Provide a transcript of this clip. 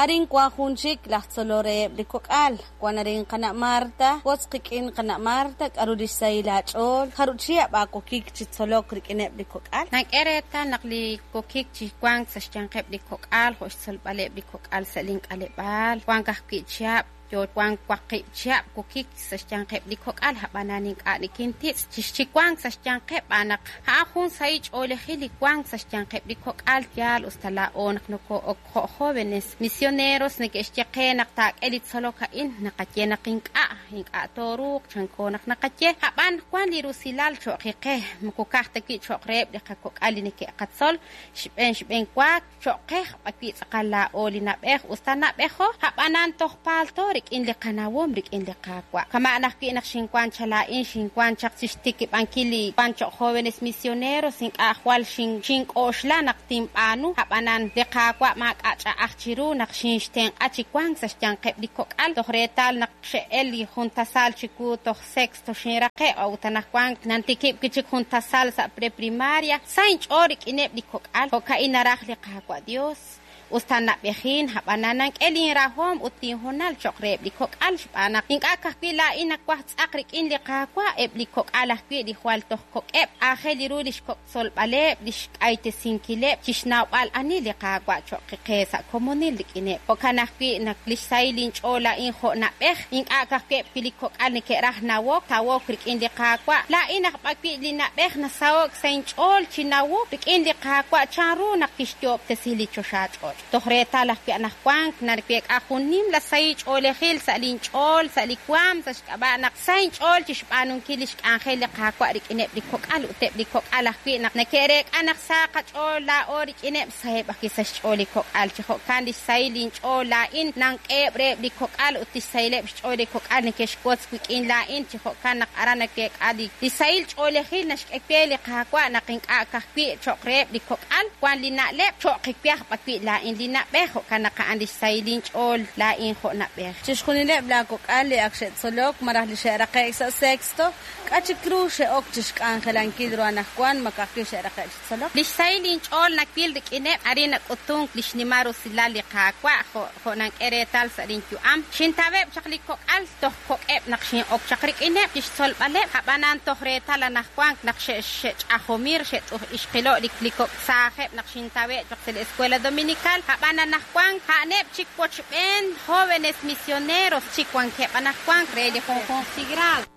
Arin wan jun chik laj tzolol reheb' li kok'al. Wan arin qana' Marta. Wotz qik'in qana' Marta, k'aru li xsahil aach'ool, jarub' chihab' aawokik chi tzolok rik'ineb' li kok'al? Nank'e reetal naq li wokik chi wank sa' xyanqeb' li kok'al jo' xtzolb'aleb' li kok'al sa' link'aleb'aal, wank ajwi' chihab' yo wank waqib' chihab' wokik sa' xyanqeb' li kok'al, ab'anan ink'a' nikintitz' chi wank sa' xyanqeb' b'aan naq a'an jun sahil ch'oolejil li wank sa' xyanqeb' li kok'al. Yaal us ta laa'o naq nokoo'ok jo' jóvenes misioneros neke'xye qe naq taak'e li tzolok a'in, naqaye naq ink'a', ink'a' tooruuq, chanko naq naqaye, ab'an wan li rusilal cho'q qe, moko ka'aj ta wi' cho'q reheb' li qakok'al li neke'qatzol, xb'een xb'een wa cho'q qe b'arwi' tz'aqal laa'o li na'b'ej, us ta na'b'ejo, ab'anan toj paalto rik'in li qanawom rik'in li Qaawa'. Kama'an ajwi' naq xinwank chaq laa'in, xinwank chaq chi xtikib'ankil li wank cho'q jóvenes misioneros, ink'a' jwal xink'oxla naq tinb'aanu, ab'anan li Qaawa' maak'a' ch'a'aj chiru naq xinxtenq'a chi wank sa' xyanqeb' li kok'al, toj reetal naq xe'el li jun tasal chiwu toj sexto xinraqe', a'ut anaqwan nantikib' wi' chik jun tasal sa' preprimaria, sa inch'ool rik'ineb' li kok'al, jo'ka'in naraj li Qaawa' Dios. Us ta na'b'ejin, ab'anan nank'e linrahom ut linhoonal cho'q reheb' li kok'al xb'aan naq ink'a' ka'ajwi' laa'in nawaj tz'aq rik'in li Qaawa', eb' li kok'al ajwi' li jwal toj kok'eb', aajel ru li xkok' tzolb'aleb', li xk'aytesinkileb' chi xnawb'al ani li Qaawa' cho'q qe sa' komonil rik'ineb'. Jo'kan ajwi' naq li xsahil linch'ool laa'in jo' na'b'ej, ink'a' ka'ajwi' eb' li kok'al neke'raj nawok, tawok rik'in li Qaawa', laa'in aj b'arwi' li na'b'ej nasaho'k sa' inch'ool chi nawok rik'in li Qaawa' chanru naq kixyoob'tesi li choxach'och'. Toj reetal ajwi' anaqwan naweek'a jun nimla sahil ch'oolejil sa' linch'ool, sa' li waanm, sa' xk'ab'a' naq sa inch'ool chi xb'aanunkil li xk'anjel li Qaawa' rik'ineb' li kok'al ut eb' li kok'al ajwi' naq neke'reek'a naq sa qach'ool laa'o rik'ineb', saheb' ajwi' sa' xch'ool li kok'al. Chi jo'kan li xsahil linch'ool laa'in nank'eheb' reheb' li kok'al ut li xsahileb' xch'ool li kok'al neke'xwotz wik'in laa'in. Chi jo'kan naq aran naweek'a li sahil ch'oolejil naxk'e we li Qaawa' naq ink'a' ka'ajwi' cho'q reheb' li kok'al wan li na'leb', cho'q we aj b'arwi' laa'in li na'b'ej, jo'kan naq a'an li xsahil linch'ool laa'in jo' na'b'ej. Chixjunileb' laakok'al li ak xe'tzolok malaj li xe'raqe'k sa' sexto, k'a' chik ru xe'ok chi xk'anjelankil ru anaqwan ma ka'ajwi' xe'raqe'k chi tzolok? Li xsahil linch'ool nawil rik'ineb', arin nak'utunk li xnimal rusilal li Qaawa' jo' jo' nank'e reetal sa' linyu'am. Xintaweb' chaq li kok'al toj kok'eb' naq xin'ok chaq rik'ineb' chi xtzolb'aleb', ab'anan toj reetal anaqwan naq xe'ch'ajomir, xe't'uj-ixqilo' li kok' saajeb' naq xintawe' chaq sa' li Escuela Dominical, ab'an anaqwan a'aneb' chik wochb'een jóvenes misioneros chik wankeb' anaqwan re li junjunq chi grado.